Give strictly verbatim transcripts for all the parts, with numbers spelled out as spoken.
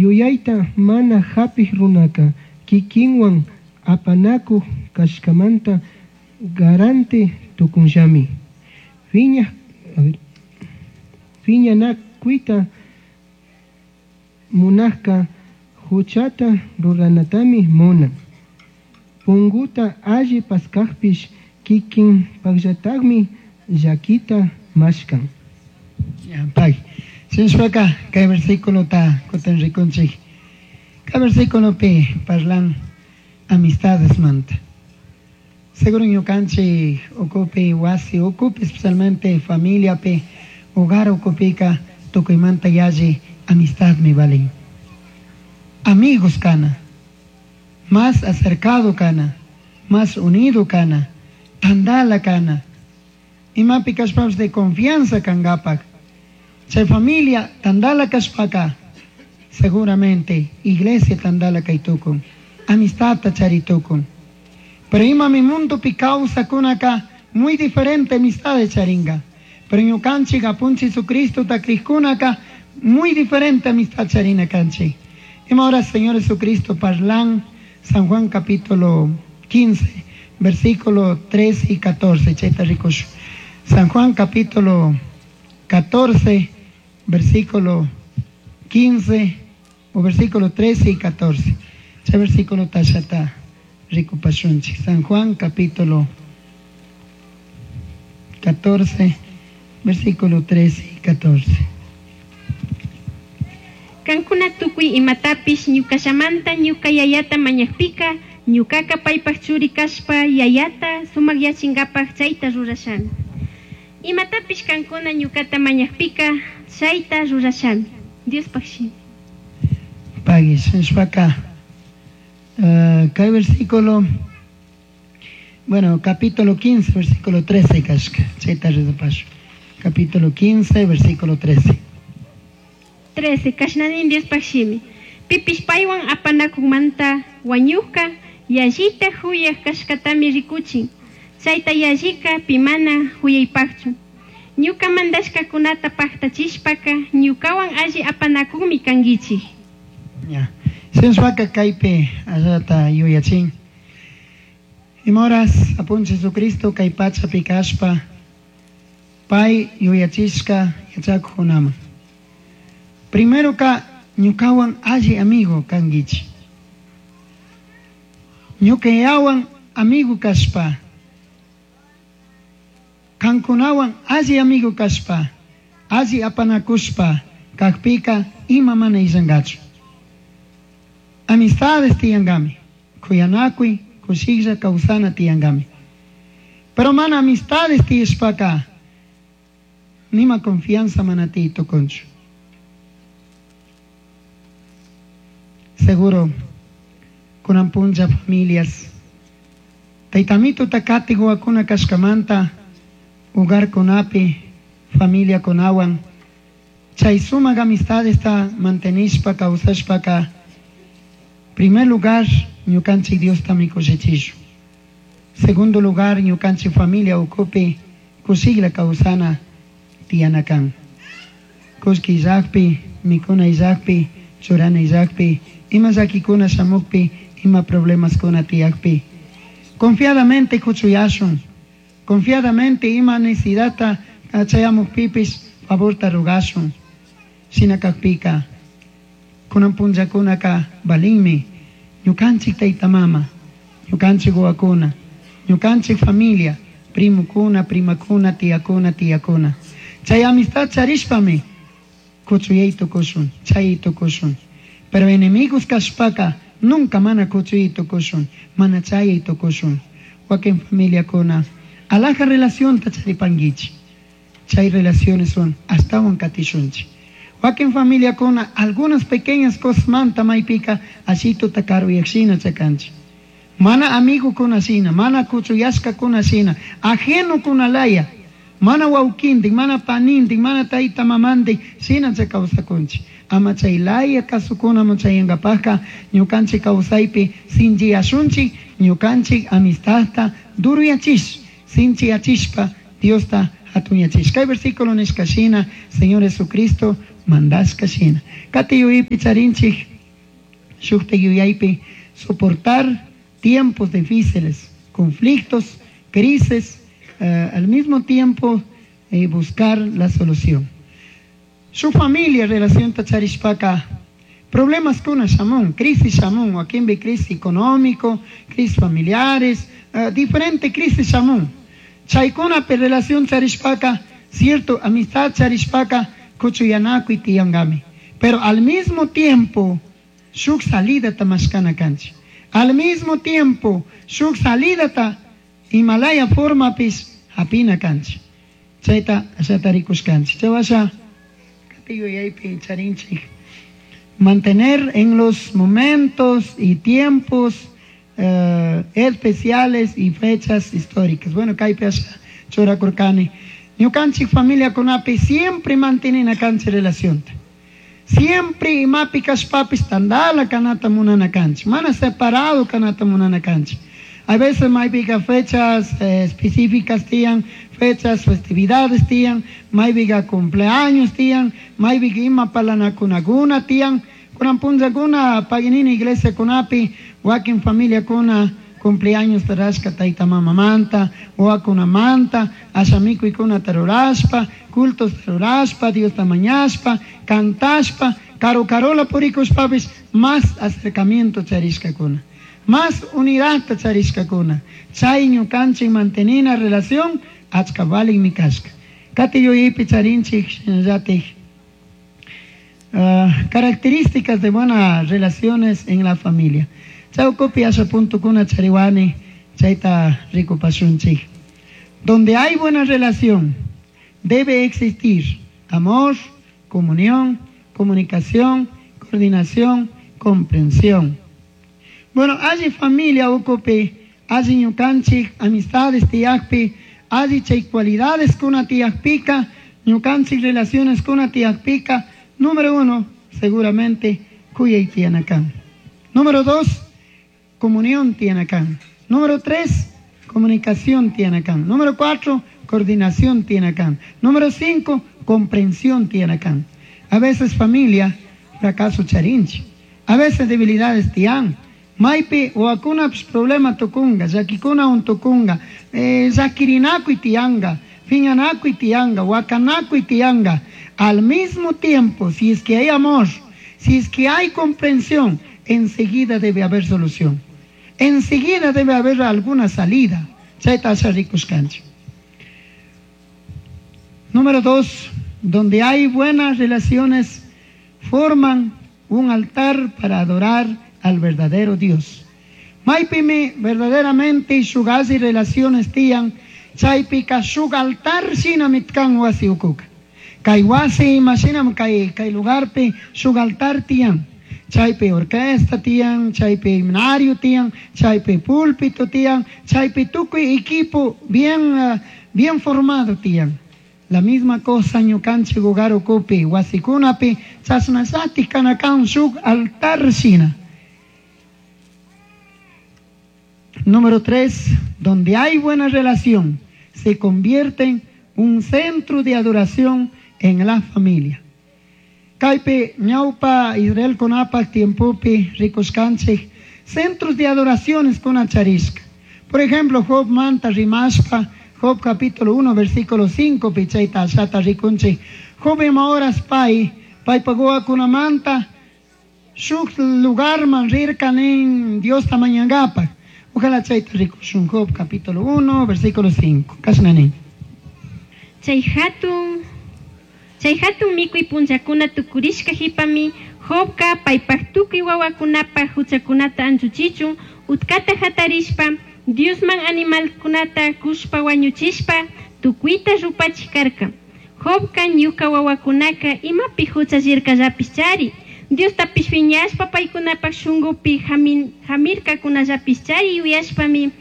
Yuyaita mana japij runaca kikinwan apanakuj kashkamanta garante tukunllami. Fiña, a ver, fiñanakuita munajka huchata ruranatami munan. Punguta alli paskajpish kikin pakllatakmi llakita mashkan. Ya, pay. Shinashpaka kay versículota kutin rikunchik. Kay versículopi parlan amistades manta. Seguro ñukanchik ukupi wasi ukupi especialmente familiapi hogar ukupika tukuymanta yalli amistadmi valin. Amigos kana, más acercado kana, más unido kana, tandala kana. Imapi kashpapish de confianza kangapak. Chay familia tandala kashpaka, seguramente iglesia tandala kaytukun, amistadta charitukun. Pero imami mundopi kawsakunaka muy diferente amistades charinga. Pero ñukanchik apunchik Jesucristo ta krikkunaka muy diferente amistad charina kanchik. Ima ahora Señor Jesucristo parlan San Juan capítulo quince, versículo trece y catorce, chayta rikush. San Juan capítulo catorce, versículo quince, o versículo trece y catorce. Chay versículo tashata rikupashunchik. San Juan capítulo catorce, versículo trece y catorce. Kankuna tukuy imatapish ñukallamanta ñuka yayata mañakpika, ñukaka paypak churi kashpa yayata sumakyachinkapak chayta rurashami. Imatapish kankuna ñukata mañakpika, chayta rurashami. Diospaj shimi. Pagui, shinashpaka, eh, kay versículo, bueno, capítulo quince, versículo trece kashka, chayta rurapashu. Capítulo quince, versículo trece. trece, kashnanin Diospaj shimi. Pipish paywan apanakunmanta wañukka, yallita huyaj kashkatami rikuchin. Chayta yallika pimana huyaypakchu. Ñuka mandashkakunata paktachishpaka, ñukawan alli apanakunmi kankichik. Ya. Shinashpaka kaypi allata yuyachin. Imahoras apunchik Jesucristo kay pachapi kashpa, pay yuyachishka yachakuqkunaman. Primero ka ñukawan alli amigo kankichik. Ñukayawan amigo kashpa, kankunawan alli amigo kashpa, alli apanakushpa, kakpika ima mana illankachu. Amistades tiyankami, kuyanakuy, kushilla kawsana tiyankami. Pero mana amistades tiyashpaka, nima confianza mana tiy tukunchu. Seguro, kunan punlla familias, taytamito takati huwakuna kashkamanta, hogar kunapi, familia kunawan, chay sumak amistades ta mantenishpa, kawsashpaka, primer lugar, ñukanchik Diosta mikushichishun. Segundo lugar, ñukanchik familia ukupi, kushikla kawsana tiyana kan. Kushki illakpi, mikuna illakpi, churana illakpi, ima llakikuna shamukpi, ima problemas kuna tiyakpi. Confiadamente kuchuyashun, confiadamente ima necesidadta chayamukpipis favorta rugashun. Shina kakpika, kunan punllakunaka balinmi, ñukanchik tayta mama, ñukanchik wawakuna, ñukanchik familia, primukuna, primakuna, tiyakuna, tiyakuna. Chay amistad charishpami kuchuyay tukushun, chay tukushun. Pero enemigos kashpaka nunca mana kuchuyay tukushun, mana chayay tukushun. Wakin familia kuna, alaja relación ta charipanguichi. Chay relaciones son astawan katishunchi. Wakin familia kuna, algunas pequeñas cosas manta maypika, ashito takaru yakshina chakanchi. Mana amigo kuna shina, mana kuchuyashka kuna shina, ajeno kuna laya, mana waukindik, mana panindik, mana tayta mamandik, shina chakawsakunchi. Ama chay laya kasukuna muchayangapajka, ñukanchik kawsaypi sinchiyashunchik, ñukanchik amistadta duruyachish, sinchiyachishpa Diosta hatunyachish. Kay versículo nishka shina, Señor Jesucristo mandashka shina. Kati yuyaypi charinchik shukta yuyaypi soportar tiempos difíciles, conflictos, crisis, eh, al mismo tiempo eh, buscar la solución. Su familia relación charishpaka problemas kuna shamun, crisis shamun, wakinpi crisis económico, crisis familiares, uh, diferente crisis shamun. Chaykunapi relación charishpaka, cierto, amistad charishpaka, kuchuyanakuy tiyangami. Pero al mismo tiempo, shuk salida ta mashkana kanchik. Al mismo tiempo, shuk salida ta Himalaya formapis hapina kanchik. Chayta ashata rikushkanchik. Chaywasha yuyaypi charinchik. Mantener en los momentos y tiempos eh, especiales y fechas históricas. Bueno, kaypi asha churakurkani. Ñukanchik familia kunapi siempre mantenina kanchik relación. Siempre imapi kashpapis tandala kanata munana kanchik. Mana separado kanata munana kanchik. A veces maypika fechas eh, específicas tiyan, fechas, festividades tiyan, maypika cumpleaños tiyan, maypika ima parlanakunakuna tiyan. Kunan punllakuna paginini iglesia kunapi, wakin familia kuna cumpleaños tarashka tayta mamamanta, wawakunamanta, asha mikuykuna rurashpa, cultos rurashpa, Diosta mañashpa, cantashpa, karu karula purikushpapis más acercamiento charishkakuna. Más unidad charishkakuna. Chay ñukanchik mantenina relación achka valinmi kashka. Kati yuyaypi charinchik shinallatik uh, características de buenas relaciones en la familia. Chawkupi asha puntukuna chariwani chayta rikupashunchik. Donde hay buena relación, debe existir amor, comunión, comunicación, coordinación, comprensión. Bueno, alli familia ukupi, alli ñukanchik, amistades tiyakpi, alli chay cualidades kuna tiyakpika, ñukanchik relaciones kuna tiyakpika, número uno, seguramente, kuyay tiyana kan. Número dos, comunión tiyana kan. Número tres, comunicación tiyana kan. Número cuatro, coordinación tiyana kan. Número cinco, comprensión tiyana kan. A veces familia, fracaso charinchik. A veces debilidades tiyan. Maypi wawakunapish problema tukunga, llakikunawan tukunga, eh, llakirinakuy tiyanga, piñanakuy tiyanga, wakanakuy tiyanga. Al mismo tiempo, si es que hay amor, si es que hay comprensión, enseguida debe haber solución. Enseguida debe haber alguna salida. Chayta asha rikushkanchik. Número dos, donde hay buenas relaciones, forman un altar para adorar al verdadero Dios. Maypimi verdaderamente shuk alli relaciones tiyan, chaypika shuk altar shinami kan wasi ukuka. Kay wasi imashinam kay, kay lugarpi shuk altar tiyan. Chaypi orquesta tiyan, chaypi himnario tiyan, chaypi púlpito tiyan, chaypi tukuy equipo bien, uh, bien formado tiyan. La misma cosa ñukanchik hogar ukupi, wasikunapi, chashnallati kanakan shuk altar shina. Número tres, donde hay buena relación, se convierte en un centro de adoración en la familia. Kaypi ñawpa Israelkunapak tiempopi rikushkanchik centros de adoraciones kuna charishka. Por ejemplo, Job manta rimashpa, Job capítulo uno, versículo cinco, chayta ashata rikunchik. Job ima horas pay, paypak wawakunamanta, shuk lugarman rirka nin Diosta mañangapak. Ojalá chayta rikushun Job capítulo uno, versículo cinco. Kashna nin. Chay hatun, chay hatun mikuy punllakuna tukurishka jipami, Jobka paypak tukuy wawakunapak huchakunata anchuchichun, utkata hatarishpa, Diosman animalkunata kushpa wañuchishpa, tukuyta rupachik karka. Jobka ñuka wawakunaka imapi huchallirkallapish chari, Diostapish piñashpa paykunapak shunkupi hamin, hamirkakunallapish chari yuyashpami,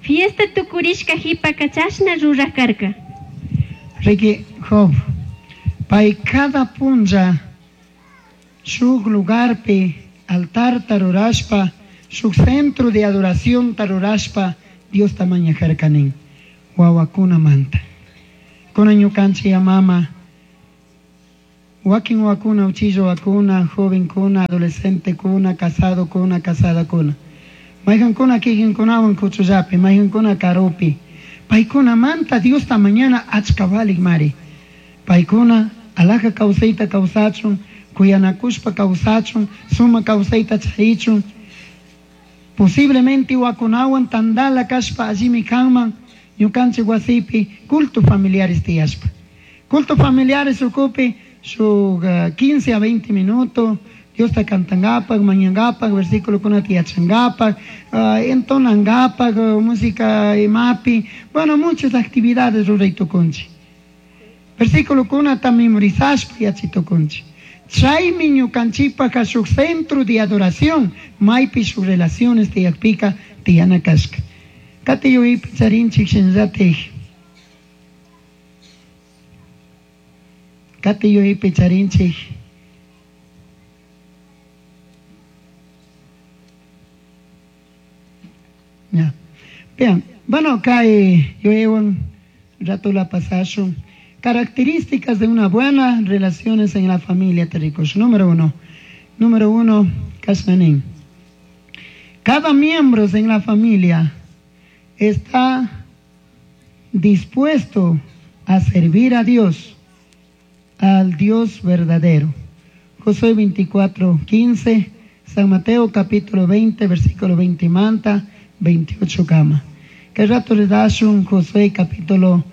fiesta tukurishka jipaka chashna ruraj karka. Riki Job, pay cada punlla shuk lugarpi altar rurashpa, shuk centro de adoración rurashpa, Diosta mañajarka nin, wawakunamanta. Kunan ñukanchik mama, Wakin wakuna, uchillo wakuna, jovenkuna, adolescentekuna, casadokuna, casadakuna. Mayqankuna kikinkunawan kuchullapi, mayqankuna karupi. Paykunamanta Diosta mañana achka valik mari. Paykuna alaja kawsayta kawsachun, kuyanakushpa kawsachun, suma kawsayta charichun. Posiblemente wakunawan tandala kashpa allimi kanman, ñukanchik wasipi culto familiares tiyashpa. Culto familiares ukupi shuk uh, quince a veinte minutos, Diosta cantangapak, mañangapak, versículokunata yachangapak, uh, entonangapak, uh, música imapi, bueno, muchas actividades ruray tukunchik. Versículokunata memorizashpa yachay tukunchik. Chaymi ñukanchikpaka shuk centro de adoración, maypi shuk relaciones tiyakpika tiyana kashka. Kati yuyaypi charinchik shinallatik. Kati yuyaypi charinchik. Ya. Bien, bueno, kay yuyaywan rato la pasashun. Características de una buena relaciones en la familia, tericos. Número uno. Número uno, kasnanin. Cada miembro en la familia está dispuesto a servir a Dios, al Dios verdadero. Josué veinticuatro, quince, San Mateo capítulo veinte, versículo veinte manta, veintiocho cama. Que rato le das un Josué capítulo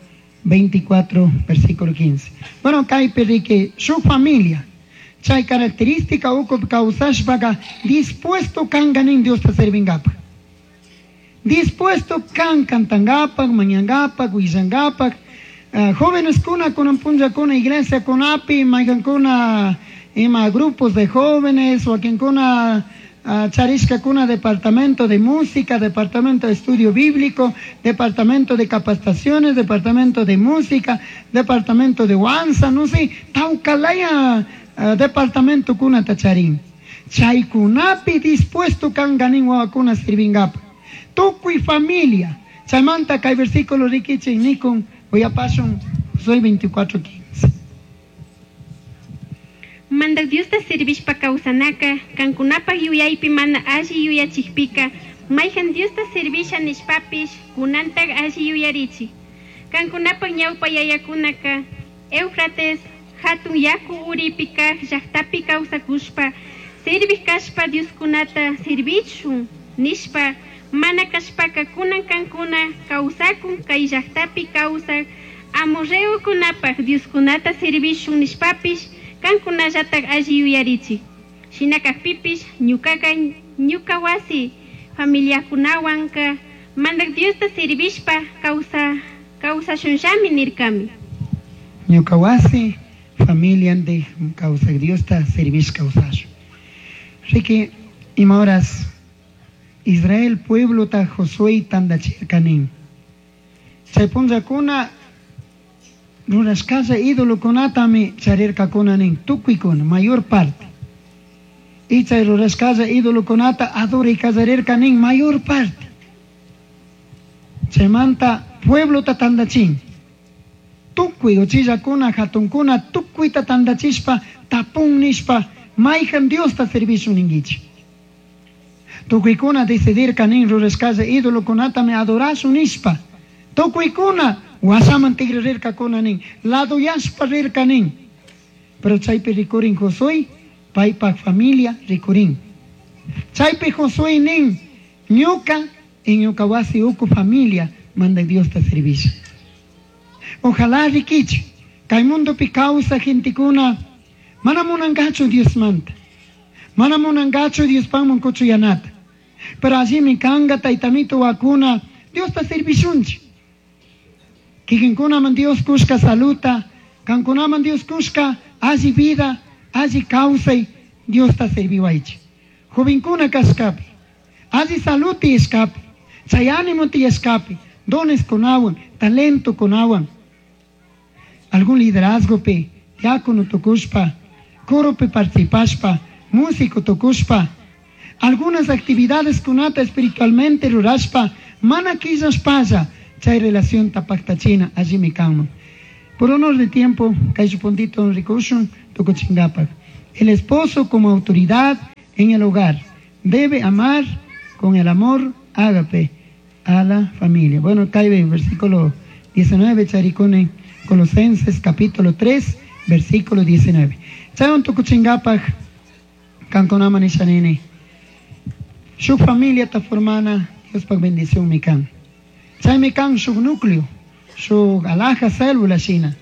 veinticuatro, versículo quince. Bueno, kai que su familia, chay característica uko causashpaga dispuesto kanganin Dios ta servingapa. Dispuesto kan cantangapa, mañangapa, guillangapa. Uh, jóvenes kuna kunan punlla kuna iglesia kunapi, maygan kuna ima grupos de jóvenes, o quien kuna uh, charishka kuna departamento de música, departamento de estudio bíblico, departamento de capacitaciones, departamento de música, departamento de huanza, no sé, taucalaya uh, departamento kuna tacharín. Chaykunapi dispuesto kanganin wawakuna sirvingapa. Tukuy familia. Chaymanta kay versículo rikichi nikun uyapashun Josué veinticuatro, quince. Mandak Diosta servishpa kawsanaka, kankunapaq yuyaypi mana alli yuyachikpika, mayhan Diosta servisha nishpapish, kunantaq alli yuyarichik. Kankunapaq ñawpa yayakunaka, Éufrates, hatun yaku uripi kaq llaqtapi kawsakushpa, serviq kashpa Dioskunata servichun nishpa, mana kashpaka kunan kankuna kawsakun kay llaqtapi kawsaq amorreokunapaq Dioskunata servishun nishpapish, kankunallatak alli yuyarichik. Shina kaqpipish ñukaqa ñuka wasi familiakunawanka mandak Diosta servishpa kawsa kawsashunllami nirkami. Ñuka wasi familiantik kawsaq Diosta servish kawsashun. Riki ima horas Israel pueblo ta Josué tandachirkanin. Chay punllakuna rurashkalla ídolokunatami charirkakunanin tukuykuna mayor parte. Y chay rurashkalla ídolokunata adoray kallarirkanin mayor parte. Chaymanta pueblo ta tandachin. Tukuy uchillakuna hatunkuna tukuyta tandachishpa tapun nishpa mayhan Diosta servishun ninkichik. Tukuykuna decidirkanin rurashkalla ídolokunatami adorashun nishpa. Tukuykuna wasaman tigrarirkakunanin, laduyashpa rirkanin. Pero chaypi rikurin Josué, paypaq familia rikurin. Chaypi Josué nin, ñuka y ñuka wasi uku familia mandak Diosta servisha. Ojalá rikichi, kay mundopi kawsaq gentekuna mana munankachu Diosmanta. Mana munankachu Diospanman kuchuyanata. Pero allimi kanga taytamito wakuna Diosta servishunchik. Kikinkunaman Dios kushka saluta, kankunaman Dios kushka alli vida, alli kawsay Diosta serviwaychik. Jovenkuna kashkapi, alli salud tiyashkapi, chay ánimo tiyashkapi, dones kunawan, talento kunawan. Algún liderazgo pi, diácono tukushpa, coro pi participashpa, músico tukushpa, algunas actividades kunata espiritualmente rurashpa, mana killashpalla, chay relación tapaktachina allimi kanman. Por honor de tiempo, kay puntito rikushun tukuchingapak. El esposo como autoridad en el hogar debe amar con el amor ágape a la familia. Bueno, cae versículo diecinueve, charicone, Colosenses capítulo tres, versículo diecinueve. Chayon tukuchingapak, kankonama nishanini. Shuk familia ta formana, Dios pak bendición mikan. Chay mikan shuk núcleo, shuk alhaja célula shina.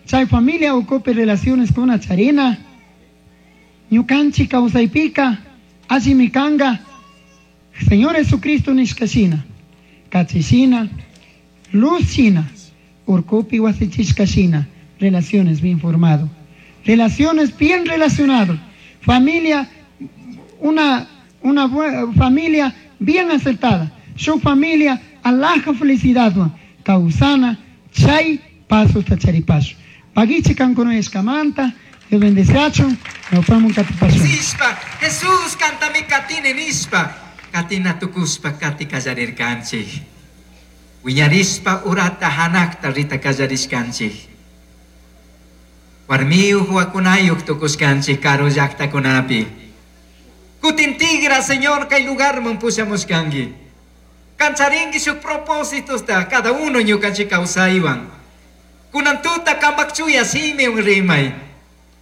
Chay familia ocupe relaciones con una charina. Ñukanchi kawsaypika, alli mikanga, Señor Jesucristo nishkashina, kachishina, luz shina, urkupi wasichishkashina, relaciones bien formado, relaciones bien relacionado, familia, una, una familia bien acertada, su familia alhaja felicidad, causana, chay, pasos tacharipaso. Pagichi kankono escamanta, Dios bendice, nos vemos en. Jesús canta mi katine nispa, katina tukuspa kati kallarir kanchik. Wiñarispa urata hanakta rita kallarishkanchik. Warmiyuq wakunayuq tukuskanchik karu llaqtakunapi. Kutin tigra, Señor, kay lugarman pushamushkanki. Kancharinki shuk propósitos ta cada uno ñukanchik kawsaywan. Kunan tuta kampakchuya simi un rimay.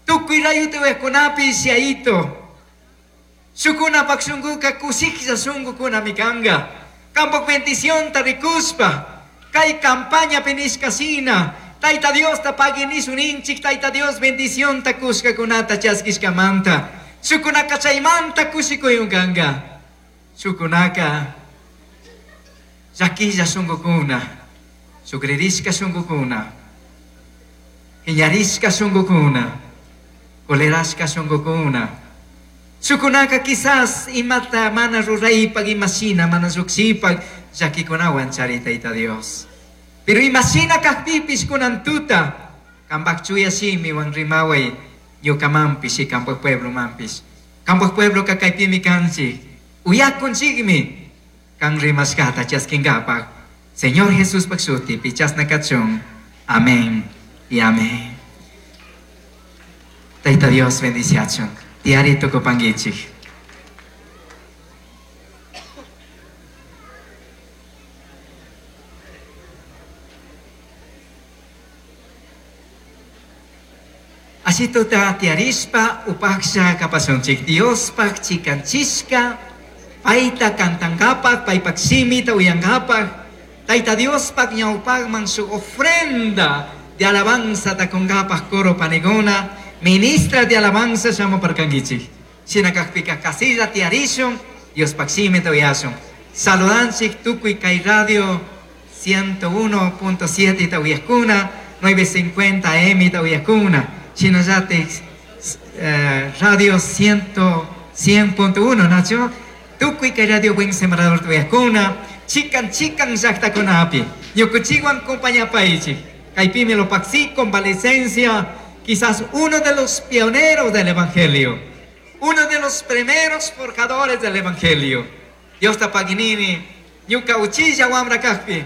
Tukuy rayuti wejkunapi siaito. Shukuna pakshunguka kusiklla shungukuna mikanga. Kampak bendición ta rikuspa. Kay campaña penishkasina. Taita Dios ta paguinisun inchik. Taita Dios bendición ta kushkakunata chaskishkamanta. Shukunaka chaymanta kushikuyunkanga. Shukunaka llakilla shungukuna. Sukririshka shungukuna. Iñarishka shungukuna. Kolerashka shungukuna. Shukunaka quizás imata mana ruraypag imashina mana lluqshipag llakikunawan chari Tayta Dios. Pero imashina kaqpipis kunan tuta kampak chuya shimiwan rimaway ñukamanpish y kampak pueblo manpish. Kampak pueblo kakaypimi kanchik. Uyakunchikmi kan rimashkata chaskinkapak. Señor Jesús pak shutipi chasna kachun. Amén y amén. Tayta Dios bendiciachun. Diarito kopangichik. Así tuta tiarispa upaksha kapasunchik. Dios pak chikanchishka, paita kantangapak, paipak simita uyangapak, taita Dios pak ñaupakman su ofrenda de alabanza takongapak coro panegona, ministra de alabanza llamo parkangichik. Shinakakpika kasilla tiarishun, Dios pak simita uyashun. Saludanchik tukuy kay radio ciento uno punto siete tauyakuna, nueve cincuenta A M tauyakuna. Shinayate eh, radio cien punto uno, Nacho. Tukuy kay radio buen sembrador tuyakuna, chikan chikan llaqtakunapi. Ñukuchiwan compañapaichik. Kaypimi lo paxi convalecencia, quizás uno de los pioneros del evangelio, uno de los primeros forjadores del evangelio. Dios tapaginini, ñuka uchilla wamra kajpi,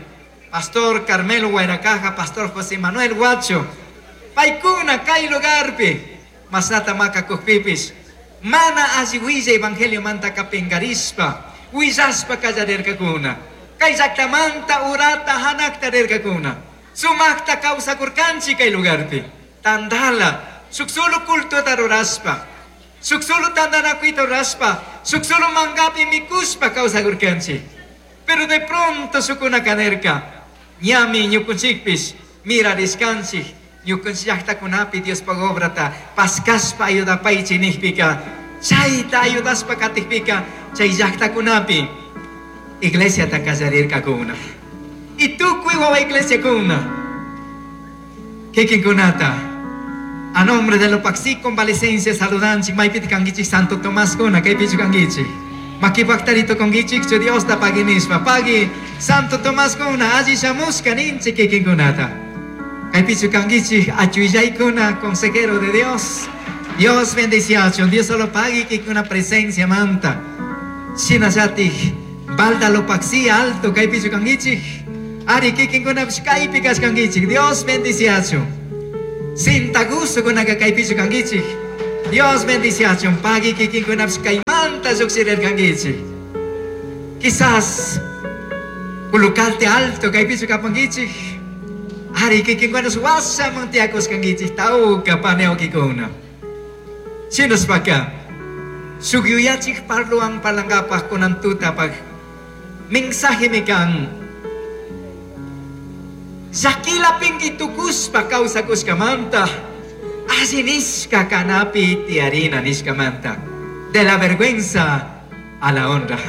Pastor Carmelo Guairacaja, Pastor José Manuel Guacho, paikuna kay lugarpi, masata maka kujpipis, mana alli evangelio manta kapingarispa, huillaspa kallarirkakuna, kay llaqtamanta urata hanakta rirkakuna, sumakta kawsakurkanchik kay lugarpi, tandala, suk solo culto ruraspa, suk solo tandanakuyta ruraspa, suk solo mangapi mikuspa kawsakurkanchik. Pero de pronto sukuna kanerka, ñami ñukunchikpis, mirariskanchik, ñukunchik llaqtakunapi Diospa obrata, paskaspa ayudapaychik nijpika, chayta ayudaspa katikpika, chay llaqtakunapi iglesiata kallarirkakuna. Y tukuy wawa iglesiakuna, kikinkunata, a nombre de Lopaxi convalecencia saludanchik, maypiti kankichik Santo Tomás kuna, kaypichu kankichik. Makipaktarito kongichik, chu Dios ta paginispa, pagi Santo Tomás kuna, alli shamushka ninchik kikinkunata. Kaypichu kankichik, achuillaykuna, consejero de Dios. Dios bendiciachun, Dios solo pagi kikuna presencia manta. Shinallatik, balda Lopaxi alto, kaypichu kankichik. Ari kikinkunapish kaypi kashkankichik. Dios bendiciachun. Sintagusukunaka kaypichu kankichik. Dios bendiciachun. Pagui kikinkunapish kaymanta lluqshirirkankichik. Quizás Pulucalte alto kaypichu kapankichik. Ari kikinkunash washaman tiyakushkankichik tawka paniawkikuna. Shinaspaka shuk yuyachik parluwan parlankapaq kunan tutapaq mensajemi kan llakila pinki tukushpa kawsakushkamanta alli nishka kanapi tiyarina nishkamanta de la vergüenza a la honra.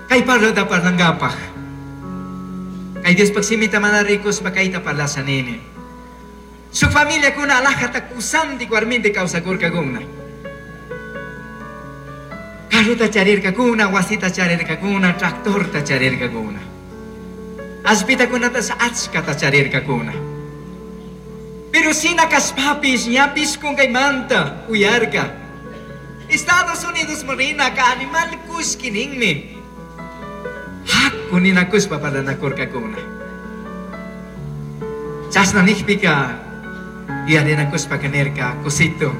Kay parlota parlankapaq kay Diospaq simita mana rikushpa kayta parlasha nini. Su familia kuna alajata kusantik warmintik kawsakurkakuna. Carrota charirkakuna, wasita charirkakuna, tractorta charirkakuna. Allpitakunatash achkata charirkakuna. Pero shina kashpapish ñapish kunkaymanta uyarka. Estados Unidos rinaka animal kushki ninmi. Haku ninakushpa parlanakurkakuna. Chashna nijpika yuyarinakushpaka nirka kusito.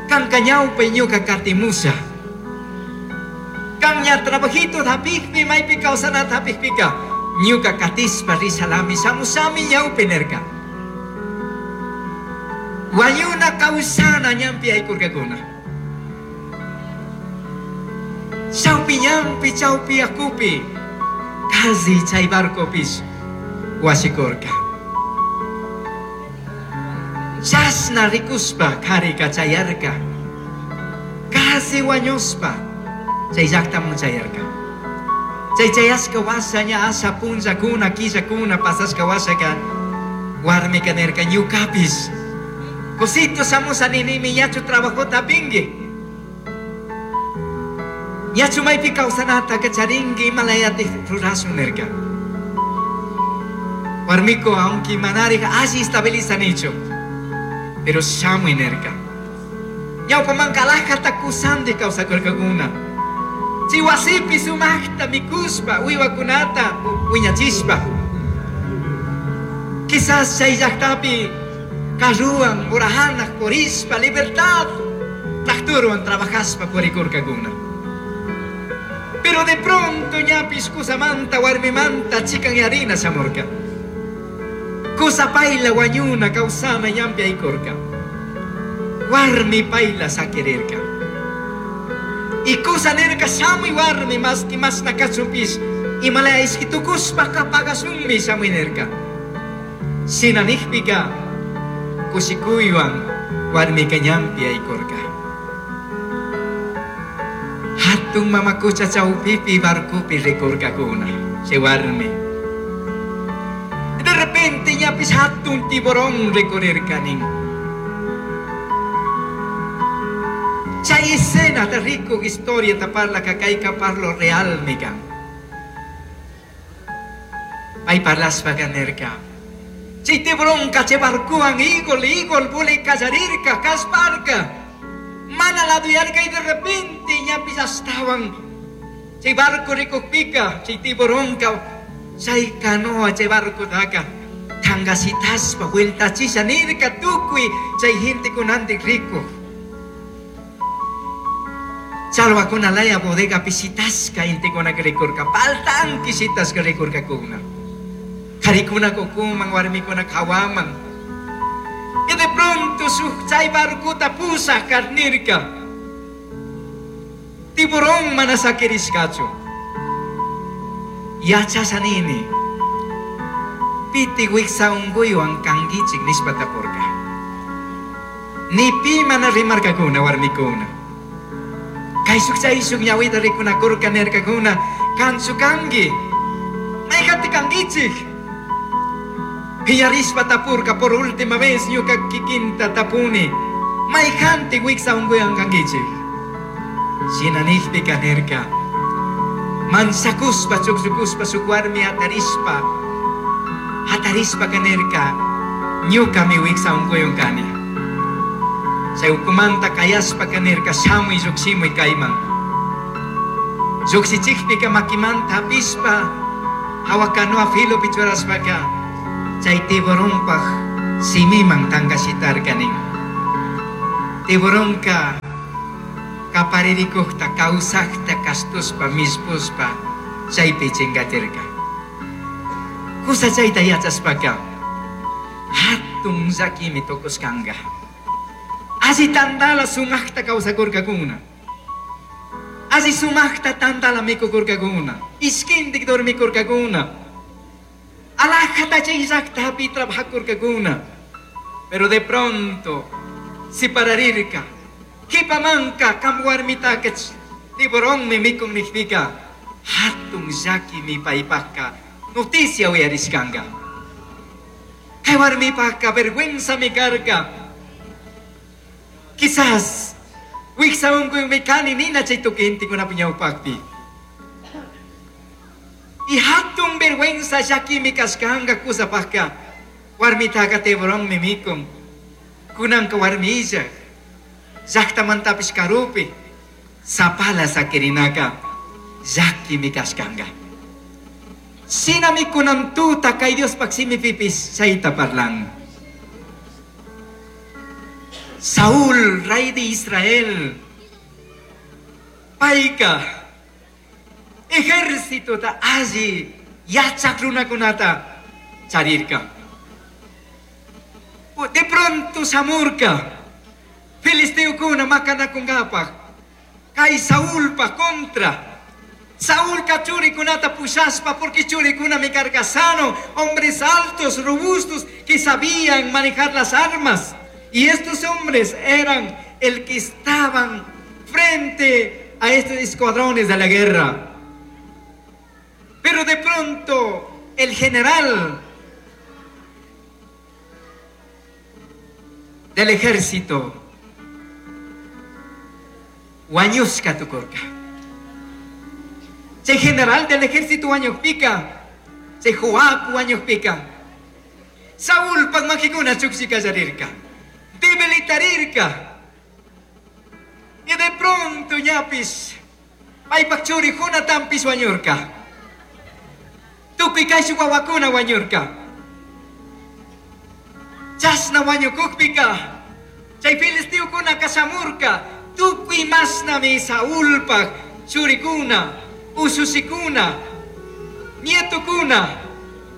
Kanka ñawpa ñuka katimusha. Kan ña trabajito hapikpi maypi kawsanata hapikpika ñuka katishpa rishalami shamushami ñawpi nirka. Wañuna kawsana ñanpi aykurkakuna. Chawpi ñanpi chawpi yakupi casi chay barcopish washikurka. Chashna rikushpa karika chayarka. Casi wañushpa chay llaqtaman chayarka. Chay chayashka washa ña asha punllakuna killakuna pasashka washaka warmika nirka ñukapish kusito shamusha ninimi ñachu trabajota hapinki. Ñachu maypi kawsanataka charinki imalayatik rurashun nirka. Warmiko aunque manarik alli estabilizanichu pero shamuy nirka. Ñawpamanka alajata kusantik kawsakurkakuna. Chay wasipi sumaqta mikushpa uywakunata wiñachishpa. Quizás chay llaqtapi carruwan urahanaq purishpa libertad tractorwan trabajashpa purikurkakuna. Pero de pronto ñapish kusamanta warmimanta chikanyarina shamurka. Kusa payla wañuna kawsana ñanpi aykurka. Warmi payla sakirirka. Y kusa nirka shamuy warmi maski mashna kachunpish imalaya ishki tukushpaka pagashunmi shamuy nirka. Shina nijpika kushikuywan warmika ñanpi aykurka. Hatun mamakucha chawpipi barcopi rikurkakuna chay warmi. De repente ñapish hatun tiburón rikurirkanin. Chay escena de rico historia taparla kayka parlo real mikan. Pay parlashpaka nirka. Chay tiburón chay barcowan igol igol puli kallarirka kashparka. Mana laduyarka y de repente ñapish ashtawan chay barco rikukpika chay tiburonka chay canoa chay barcotaka tangasitashpa vueltachisha nirka tukuy chay gentekunantik rikuk. Chalwakuna laya bodega pisitashka intikunaka rikurka paltanki shitashka rikurkakuna. Karikuna kukuman warmikuna hawaman. Y de pronto shuk chay barcota pusaj karnirka. Tiburón mana sakirishkachu. Yachasha nini. Piti wiksa unkuywan kankichik nishpa tapurka. Ni pi mana rimarkakuna warmikuna. Kayshuk chayshuk ñawita rikunakurka nirkakuna kanchu kanki. Mayqanti kankichik. Piñarishpa tapurka por última vez ñuka kikinta tapuni. Mayqanti wiksa unkuywan kankichik. Shina nijpika nirka. Mansakuspa chukchukuspa shuk warmi hatarishpa. Hatarishpa nirka ñukami wiksa unkuywan kani. Chay ukumanta kayashpa nirka shamuy llukshimuy kayman. Llukshichikpika makimanta hapishpa hawa canoa filopi churashpaka chay tiburonpaj simiman tangashitarka nin. Tiburonka kaparirikukta kawsakta kashtushpa mishpushpa chaypi chingatirka. Kusa chayta yachashpaka hatun llakimi tukushkanka. Alli tantala sumakta kawsakurkakuna. Alli sumakta tantala mikukurkakuna. Ishkindik dormikurkakuna. Alajata chay llaktapi trabajakurkakuna. Pero de pronto sipararirka. Kipamanka kam warmitaka tiburonmi mikun nikpika. Hatun llakimi paypakka noticia uyarishkanka. Kay warmipakka vergüenzami karka. Quizás wiksa unkuymi kani nina chay tukuy gentekunapi ñawpakpi. Y hatun vergüenza llakimi kashkanka kusapakka warmitaka tiburonmi mikun. Kunanka warmilla llaktamantapish karupi sapala sakirinaka llakimi kashkanka. Shinami kunan tuta kay Diospaj shimipipis chayta parlan. Saúl, rey de Israel, payka ejército ta alli yachak runakunata charirka. De pronto shamurka filisteokuna makanakunkapaj kay Saulpa contra. Saúlka churikunata pushashpa porque churikunami karka sano, hombres altos, robustos que sabían manejar las armas. Y estos hombres eran el que estaban frente a estos escuadrones de la guerra. Pero de pronto el general del ejército wañushka tukurka. Chay general del ejército wañukpika, chay Joab wañukpika, Saúlpak makikuna chukshikallarirka, debilitarirka. Y de pronto ñapish paypak churi Jonatanpish wañurka. Tukuy kayshuk wawakuna wañurka. Chashna wañukukpika chay filisteokunaka shamurka tukuy mashnami Saúlpak churikuna, usushikuna, nietukuna,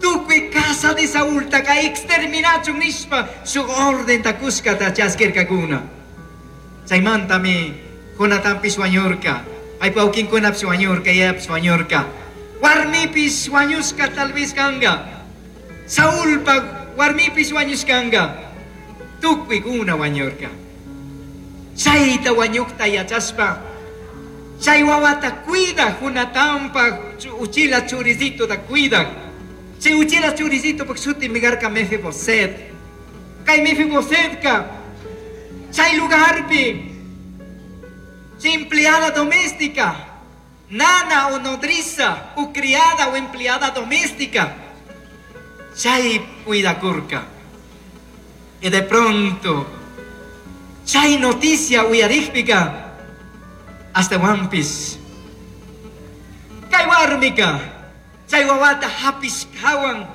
tukuy casa de Saúltaka exterminachun nishpa shuk ordenta kushkata chaskirkakuna. Chaymantami Jonatanpish wañurka, paypa wawkinkunapish wañurka, yayapish wañurka. Warmipish wañushka tal vez kanka. Saúlpak warmipish wañushkanka. Tukuykuna wañurka. Chayta wañukta yachashpa chay wawata cuida Jonatanpak uchila churisitota cuida. Chay uchila churisitopak shutimi karka Mefiboset. Kay Mefibosetka chay lugarpi chay empleada doméstica, nana o nodriza o criada o empleada doméstica, chay cuidakurka. Y de pronto chay noticia uyarikpika hasta wampis. Kay warmika chay wawata hapishkawan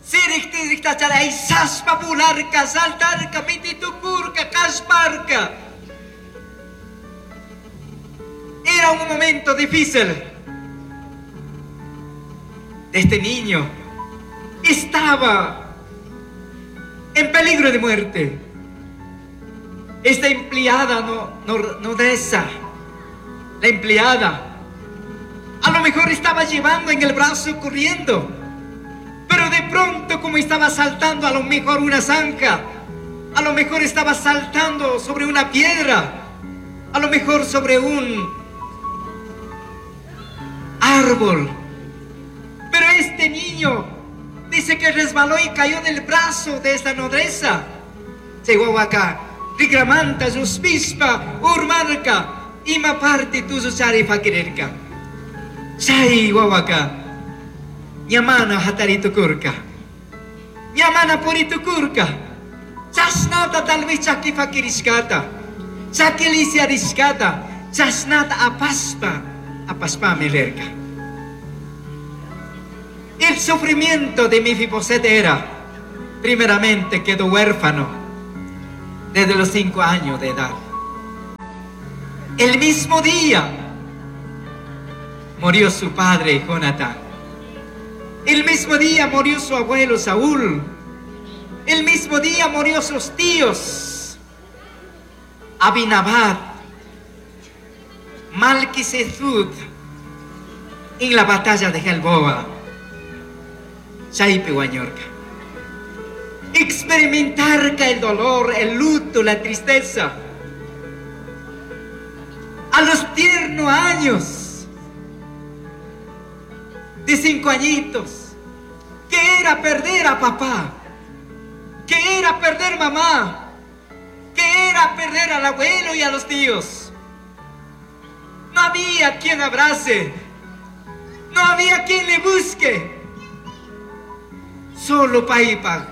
siriktirikta charay saspa bularka, saltarka, pititukurka, kashparka. Era un momento difícil. Este niño estaba en peligro de muerte. Esta empleada no, no, nodriza, la empleada, a lo mejor estaba llevando en el brazo corriendo, pero de pronto como estaba saltando a lo mejor una zanja, a lo mejor estaba saltando sobre una piedra, a lo mejor sobre un árbol. Pero este niño dice que resbaló y cayó del brazo de esta nodriza. Chay wawaka, rikramanta, llushpishpa, urmarka, ima parte tusuchari fakirirka. Chay wawaka, ñamana hataritukurka, ñamana puritukurka, chashnata tal vez chaki fakirishkata, chakilisiarishkata, chashnata apashpa, Apashpami rirka. El sufrimiento de Mefiboset era, primeramente, quedó huérfano desde los cinco años de edad. El mismo día murió su padre Jonatán. El mismo día murió su abuelo Saúl. El mismo día murió sus tíos Abinadab, Malquisedec en la batalla de Gelboa. Chaypi wañurka. Experimentar el dolor, el luto, la tristeza. A los tiernos años de cinco añitos, que era perder a papá, que era perder mamá, que era perder al abuelo y a los tíos. No había quien abrace, no había quien le busque. Solo paypaj,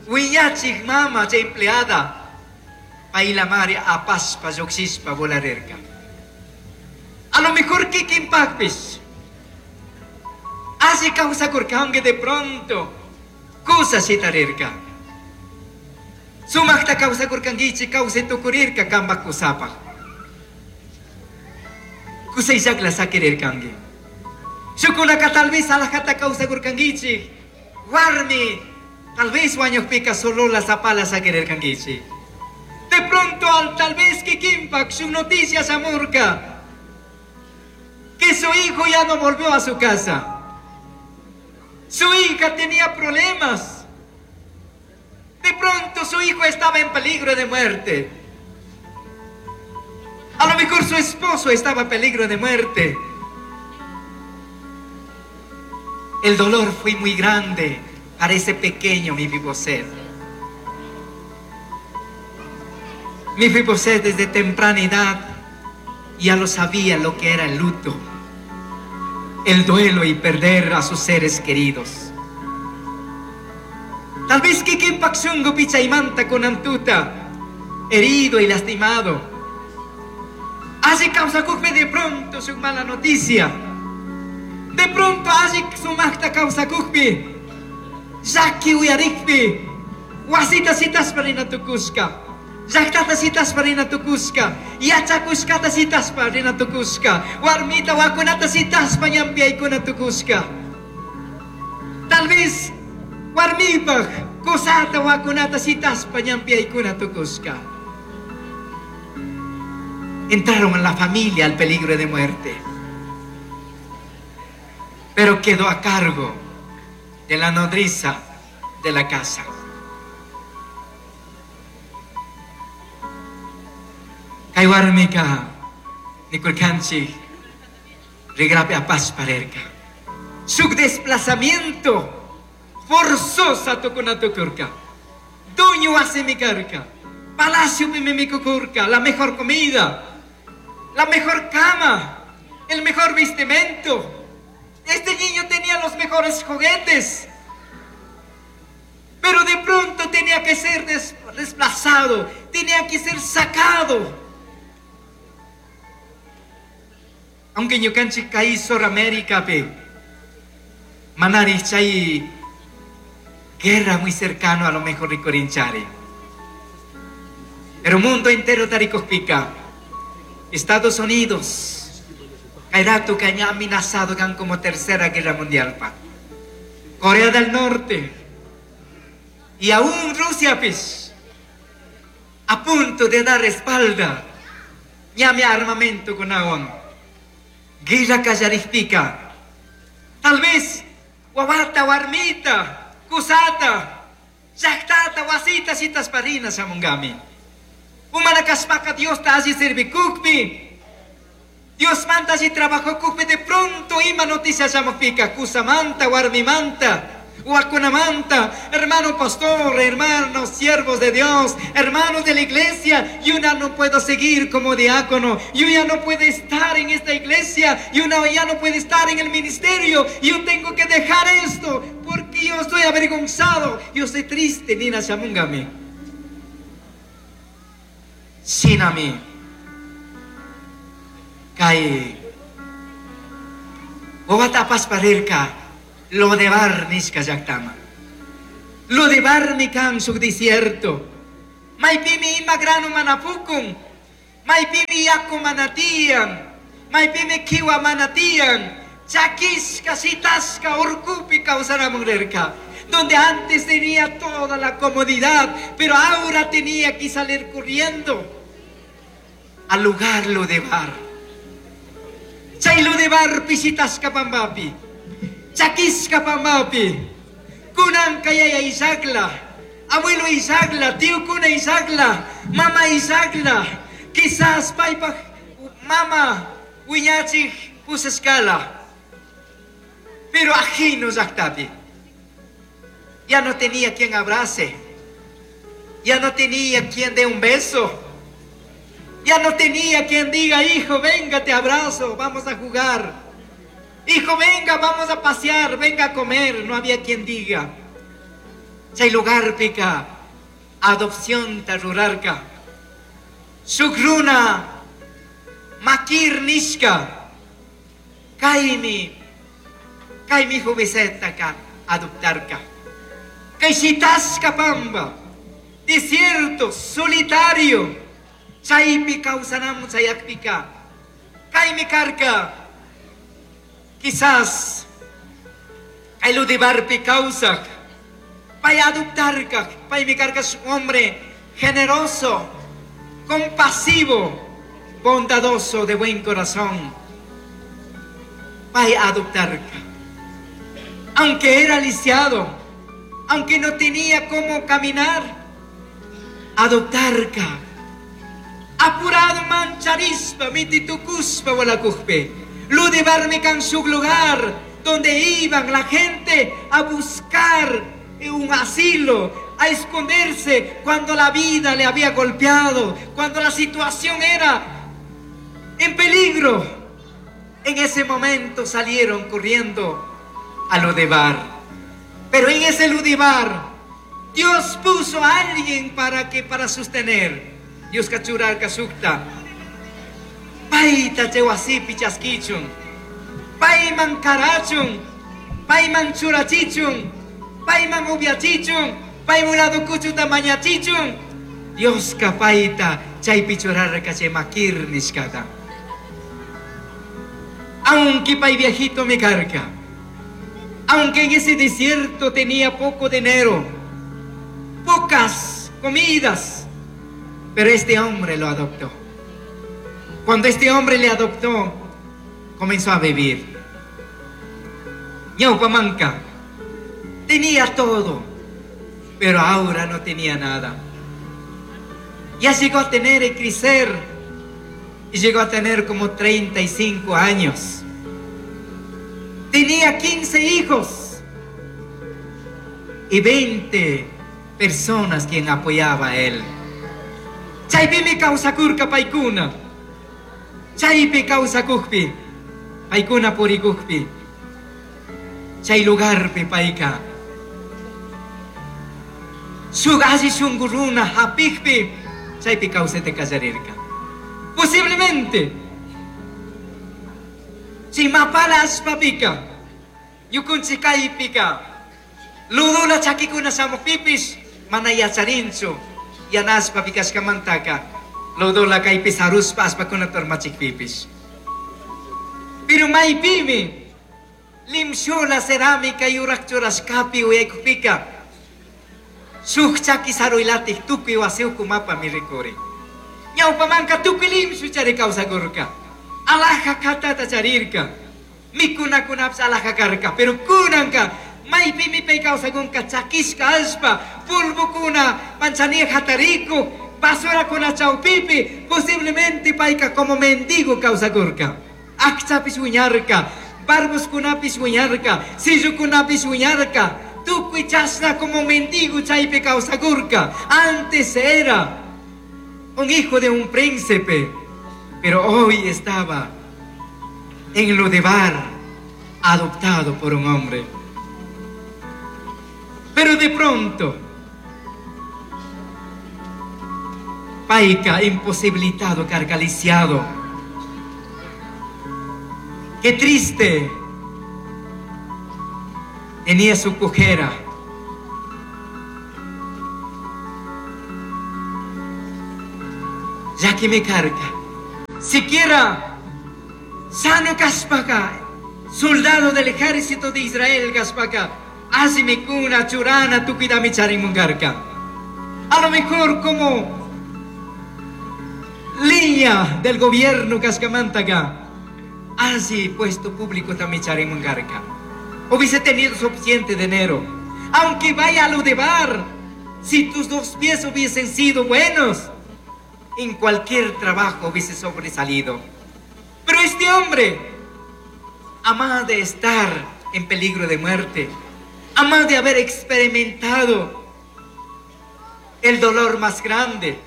wiñachij mama chay empleada, paylamari apashpa llujshishpa volarirka. A lo mejor kikinpajpish, alli kawsakurkanki de pronto, kusa shitarirka. Sumajta kawsakurkankichik kawsay tukurirka kanpaj kusapaj. Kusayllakla sakirirkanki. Shukkunaka tal vez alajata kawsakurkankichik, warmi, tal vez wañukpika solola sapala sakirirkankichik. De pronto al tal vez kikinpaj su noticia shamurka que su hijo ya no volvió a su casa. Su hija tenía problemas. De pronto su hijo estaba en peligro de muerte. A lo mejor su esposo estaba en peligro de muerte. El dolor fue muy grande para ese pequeño Mefiboset. Mefiboset desde temprana edad ya lo sabía lo que era el luto, el duelo y perder a sus seres queridos. Tal vez kikinpaj shunkupi chaymanta kunantuta, herido y lastimado. Alli kawsakukpi de pronto su mala noticia. De pronto alli sumajta kawsakukpi, llaki uyarikpi, wasita shitashpa rinatukushka, llajtata shitashpa rinatukushka, yachakushkata shitashpa rinatukushka, warmita wakunata shitashpa ñanpi Tal vez warmipaj kusata wakunata shitashpa ñanpi tukushka. Entraron a la familia al peligro de muerte, pero quedó a cargo de la nodriza de la casa. Kay warmika nikurkanchik rigrapi apashpa rirka. Su desplazamiento forzosa tukunatukurka. Dueño wasimi karka. Palacio mimikukurka, la mejor comida, la mejor cama, el mejor vestimento. Este niño tenía los mejores juguetes, pero de pronto tenía que ser des desplazado, tenía que ser sacado. Aunque ñukanchik kay Sur América pe, manari chay guerra muy cercano a lo mejor rikurinchari. Pero mundo entero tarikojpika, Estados Unidos, kay rato ña amenazado kan como tercera guerra mundial pa. Corea del Norte y aún Rusia pis, a punto de dar espalda, ñami armamento con aguan. Guerra kallarikpika, tal vez wawata, warmita, kusata, llaktata, wasita, shitashparina shamunkami. Umana kashpaka Diosta alli servikukpi, Dios manta alli trabajokukpi, de pronto ima noticia shamukpika, kusamanta, warmimanta, wakunamanta, hermano pastor, hermanos siervos de Dios, hermanos de la iglesia, yo ya no puedo seguir como diácono, yo ya no puedo estar en esta iglesia, yo no, ya no puedo estar en el ministerio, yo tengo que dejar esto, porque yo estoy avergonzado, yo estoy triste, nina shamunkami. Shinami, kay Wawata apashpa rirka Lodebar nishka llaqtaman. Lodebarmi kan shuk desierto. Maypimi ima grano mana pukun. Maypimi yaku mana tiyan. Maypimi kiwa mana tiyan. Chakishka, shitashka, urkupi kawsanamun rirka. Donde antes tenía toda la comodidad, pero ahora tenía que salir corriendo al lugar Lodebar. Chay Lodebar shitashka pambapi. Chakishka pambapi. Kunanka yaya illakla, abuelo illakla, tíokuna illakla, mama illakla, quizás paypaj mama wiñachij pushashkala. Pero ajeno llaqtapi. Ya no tenía quien abrace. Ya no tenía quien dé un beso. Ya no tenía quien diga, hijo, venga, te abrazo, vamos a jugar. Hijo, venga, vamos a pasear, venga a comer. No había quien diga. Chay lugarpika, adopción rurarka. Shuk runa, Makir nishka. Kaymi, kaymi jovencetaka adoptarka. Kay shitashka pamba, desierto, solitario. Chaypi kawsanamun chayakpika. Kaymi karka. Quizás kay Lodebarpi kawsak. Pay adoptarka, paymi karka un hombre generoso, compasivo, bondadoso, de buen corazón. Pay adoptarka. Aunque era lisiado, aunque no tenía cómo caminar, adoptarka. Apurado mancharishpa, mititukushpa walakujpi. Lodebarmi kan shuk lugar donde iban la gente a buscar un asilo, a esconderse cuando la vida le había golpeado, cuando la situación era en peligro. En ese momento salieron corriendo a Lodebar. Pero en ese Lodebar, Dios puso a alguien para que para sostener. Dios churarka shukta. Payta chay wasipi chaskichun. Payman karachun. Payman churachichun. Payman upiachichun. Payman lado kuchuta mañachichun. Dioska payta chaypi churarka chay Makir nishkata. Aunque pay viejito mi karka. Aunque en ese desierto tenía poco dinero, pocas comidas, pero este hombre lo adoptó. Cuando este hombre le adoptó, comenzó a vivir. Ñawpamanka tenía todo, pero ahora no tenía nada. Ya llegó a tener y crecer, y llegó a tener como treinta y cinco años. Tenía quince hijos y veinte personas quien apoyaba a él. Chaypimi kawsakurka paykuna. Chaypi kawsakukpi, paykuna purikukpi. Chay lugarpi payka. Shuk alli shunku runa hapikpi, chaypi kawsayta qallarirka. Posiblemente, chay mapala allpapika, ñukunchik kaypika, ludula chakikuna shamukpipish, mana yacharinchu, yana allpapi kashkamantaka, ludula kaypi saruspa allpakuna urmachikpipish. Pero maypimi, limshula cerámica yurak churashkapi uyaykukpika, shuk chaki saruylatik tukuy wasiuku mapami rikurin. Ñawpamanka tukuy limshu chari kawsakurka. Alhaja katata charirka. Mikunakunapish alhaja karka. Pero kunanka maypimi pay kawsakunka chakishka allpa, polvokuna manchania hatariku, basurakuna chawpipi, posiblemente payka como mendigo kawsakurka. Akchapish wiñarka, barbuskunapish wiñarka, sillukunapish wiñarka, tukuy chashna como mendigo chaypi kawsakurka. Antes era un hijo de un príncipe, pero hoy estaba en Lodebar, adoptado por un hombre. Pero de pronto, payka imposibilitado, carcaliciado. Qué triste Tenía su cojera. Ya que me carga. Siquiera sano kaspaca, soldado del ejército de Israel kaspaca, así cuna churana tukidami charimungarka. A lo mejor como línea del gobierno cascamantaca, así puesto público también charimungarka. Hubiese tenido suficiente dinero, aunque vaya a lo de bar, si tus dos pies hubiesen sido buenos, en cualquier trabajo hubiese sobresalido. Pero este hombre, amaba de estar en peligro de muerte, amaba de haber experimentado el dolor más grande,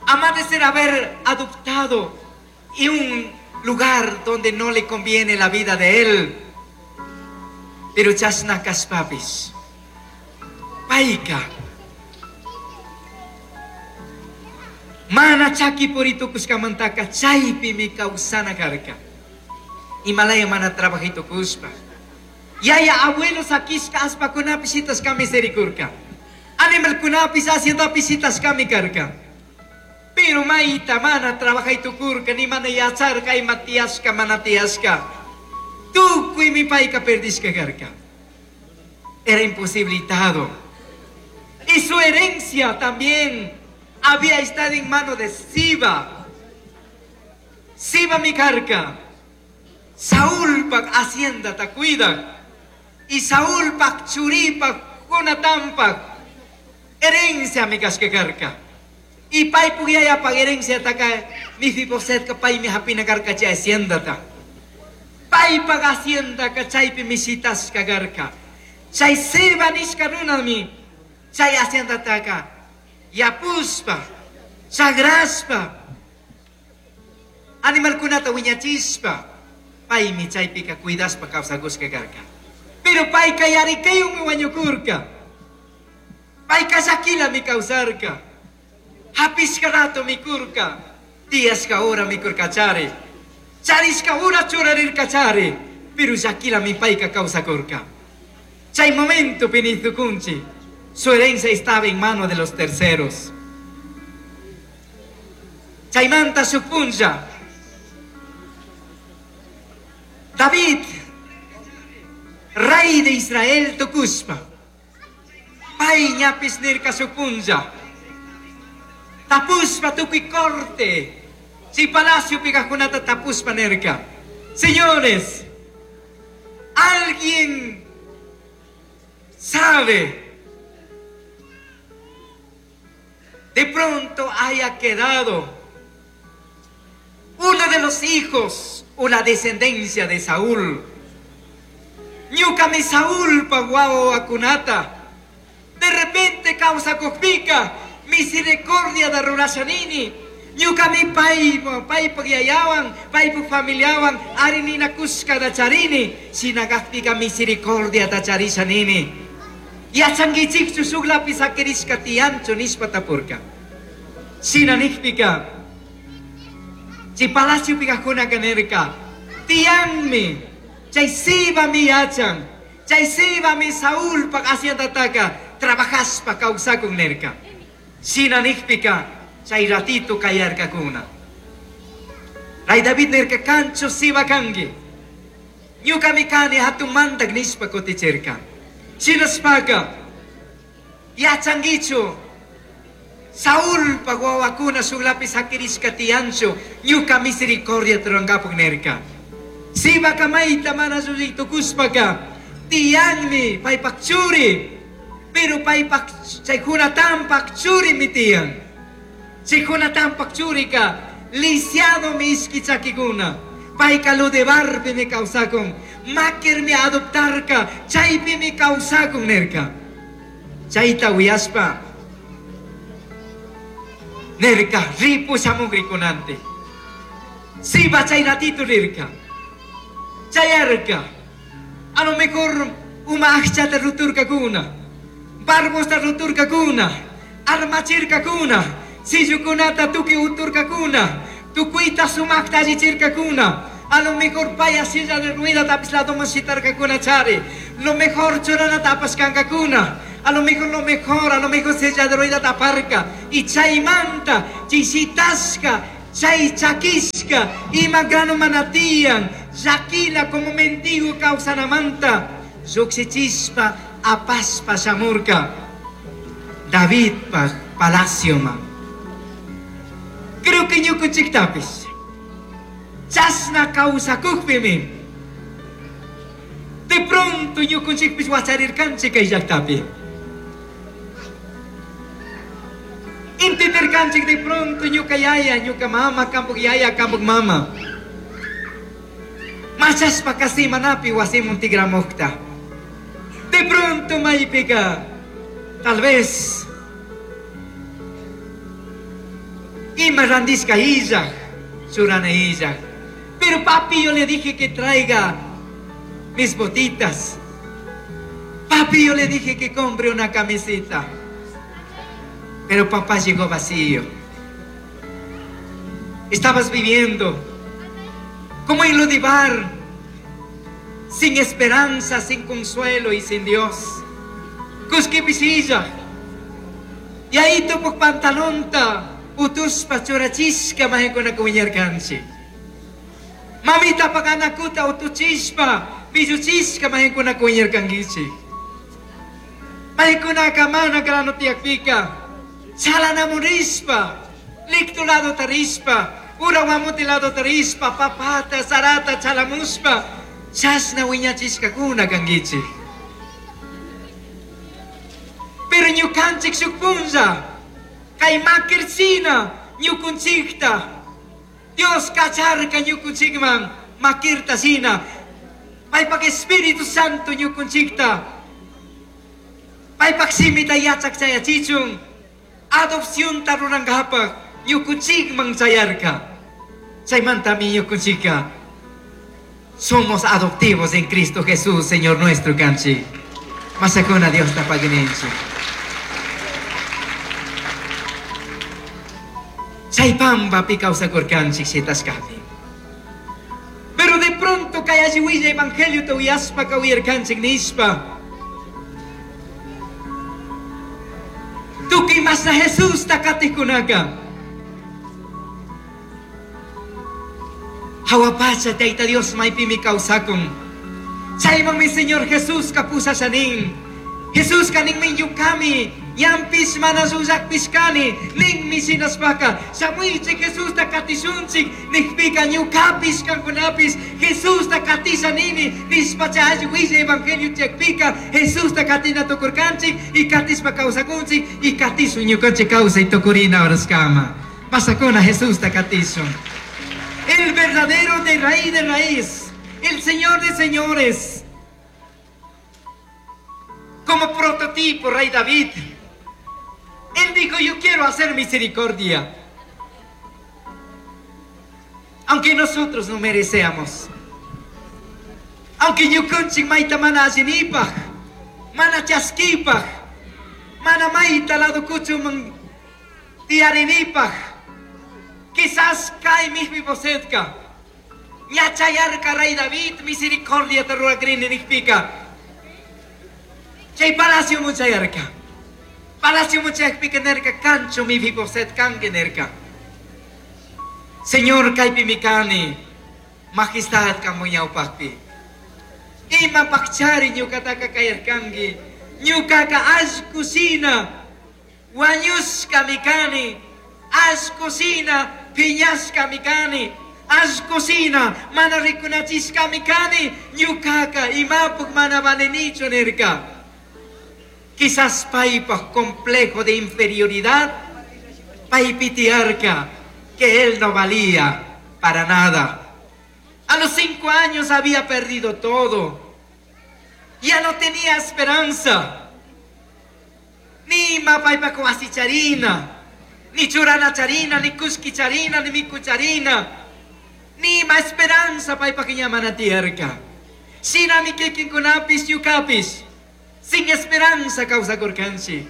amaba de ser haber adoptado y un lugar donde no le conviene la vida de él. Pero chasna kaspapis, paika, mana chaki purito kuskamantaka chaypi mi kawsana karka. Himalaya mana trabajito kuspa. Yaya abuelo sakishka aspakunapi shitashka miserikurka. Animalkunapi haciendapi shitashka mi karka. Pero maita mana trabajito kurka ni mana yacharka ima tiyashka mana tiyashka. Tukuy mi paika perdishka karka. Era imposibilitado. Y su herencia también había estado en mano de Siba. Siba mi carca. Saúl pak hacienda ta cuida. Y Saúl pak churipak Jonatán pak herencia mi casque carca. Y pai pugaya pak herencia taka mi fiboset ka pai mi hapina carca cha hacienda ta. Pai pak hacienda ka chaypi mi sitas ka carca. Chay Siba nishka runa mi chay hacienda taka. Yapuspa, sagraspa, animalkunata wiñachispa, paymi chaypika cuidaspa kawsakushka karka. Pero payka yarikaywanmi wañukurka. Payka llakilami kawsarka. Hapishka rato mikurka. Tiyashka hora mikurkachari. Charishka hora churarirkachari. Pero llakilami payka kawsakurka. Chay momento pinitukunchi. Su herencia estaba en mano de los terceros. Chaymanta supuncha. David, rey de Israel tukuspa. Pay ñapis nirka supuncha. Tapuspa tukuy corte. Si palacio pigakunata tapuspa nirka. Señores, alguien sabe de pronto haya quedado uno de los hijos o la descendencia de Saúl. Ñucami Saúl paguao acunata. De repente causa cojpica misericordia de rurashanini. Ñucami pai pai pagiayawan, pai familiawan, arinina kuska da charini, sinagazpica misericordia da charishanini. Yachangichikchu shuklapi sakirishka tiyanchu nishpa tapurka. Shina nikpika, chay palacio pikajuna kanerka, tiyanmi, chay Siba mi yachan, chay Siba mi Saúl pak haciendataka, trabajaspa kawsakun nerka. Shina nikpika, chay ratito kayarkakuna. Ray David nerka kancho Siba kangi. Ñukami kani hatun mandak nishpa kutichirka. Shinaspaka, yachangichu, Saúl pagwawakuna shuklapi sakirishka tiyanchu, ñuka misericordia turangapuk nerka. Siba kamayta mana tukuspaka, tiyanmi paypak churi, pero paypak chay Jonatán pak churi mi tiyan. Chay Jonatán pak churika, lisiado mi ishki chakikuna. Payka lo de barpi mi kawsakun, makir mi adoptarka, chaypi mi kawsakun nerka. Chayta uyaspa, nerka ripu shamugrikunante. Siba chay ratito rirka. Chayarka. A lo mejor uma akchata ruturkakuna, barbosta ruturkakuna, armachirkakuna, sillukunata tuki uturkakuna, tukuyta sumakta allichirkakuna, A lo mejor paya silla de rueda tapis lado mashitarkakunachari. Lo mejor churana tapas kankakuna. A lo mejor lo mejor, a lo mejor silla de rueda taparka. Y chaymanta, chishitasca, chay chakishka, ima grano manatian, yakila como mendigo causanamanta, lluksichispa apaspa shamurka. Davidpa palacioma. Creo que ñukunchiktapis. Chasna kawsakukpimi. De pronto ñukunchikpis wacharirkanchik kay llaqtapi. Entenderkanchik de pronto ñuka yaya, ñuka mama, kampuk yaya, kampuk mama. Machaspa kasimanapi wasimun tigramukta. De pronto maypika, tal vez ima randishka illaj, churana illaj. Pero papi, yo le dije que traiga mis botitas. Papi, yo le dije que compre una camiseta. Pero papá llegó vacío. Estabas viviendo como en Lodibar, sin esperanza, sin consuelo y sin Dios. Cusquipisilla. Y ahí tuvo pantalonta, utuspa churachisca mahekuna kuñarkanchi. Mamita paganakuta utuchispa, pilluchisca mahekuna kuñarkangichi. Mahekuna kamana grano tiakpika. Chalanamurispa, lictulado tarispa, urawamutilado tarispa, papata, zarata, chalamuspa, chasna wiñachiscakuna kangichi. Pero ñukanchik shukpunlla, kay makirchina ñukunchikta, Dios kacharka ñukunchikman makirta sina, paypak Espíritu Santo ñukunchikta, paypak simita yachak chayachichun, adopción tarurangapaj ñukunchikman chayarka. Chaymantami ñukunchika somos adoptivos en Cristo Jesús, Señor nuestro kanchik. Masakuna Dios tapaguinenchik. Chaypampa kawsakurkanchik shitashkapi. Pero de pronto kay alli willa evangelio tuyaspa kawirkanchik nishpa. Tukuy masna Jesús takatikunaka. Hawapacha Tayta Dios maypimi kawsakun. Chayman mi Señor Jesús kapusashanin. Jesús kanin minyukami. Yampis mana suyakpis kani. Nin mi sinaspaka. Shamuichik Jesús takatishunchik. Nikpika ñukapis kankunapis. Jesús takatishanini. Nispacha alli willa evangelio chakpika. Jesús takatina tukurkanchik. Y katispa kawsakunchik. Y katisun ñukanchik kawsay tukurina oraskama. Pasakuna Jesús takatishun. El verdadero de raíz de raíz. El Señor de señores. Como prototipo, Rey David. Él dijo, yo quiero hacer misericordia. Aunque nosotros no merecemos. Aunque ñukanchik mayta mana allinipaj, mana chaskipaj, mana mayta lado kuchuman tiyarinipaj. Quizás kay Mefibosetka. Ñachayarka Rey David, misericordia te rurakrini nikpika. Chay palacio muchayarka. Palacio muchayakpika nerka kancho Mefiboset kanki nerka. Señor kaypi mikani, majestad kamuñawpaqpi. Ima pakchari ñukataka kayarkanki, ñukaka allkusina, wañushka mikani, allkusina, piñashka mikani, allkusina, mana rikunachishka mikani, ñukaka imapuk mana valenichu nirka. Quizás paypaj complejo de inferioridad, paypitiarka, que él no valía para nada. A los cinco años había perdido todo. Ya no tenía esperanza. Ni mapaypa charina, ni churana charina, ni kushki charina, ni mikucharina. Ni ma esperanza paypa mana tierka. Shinami kikinkunapis yukapis. Sin esperanza kawsakurkanchik.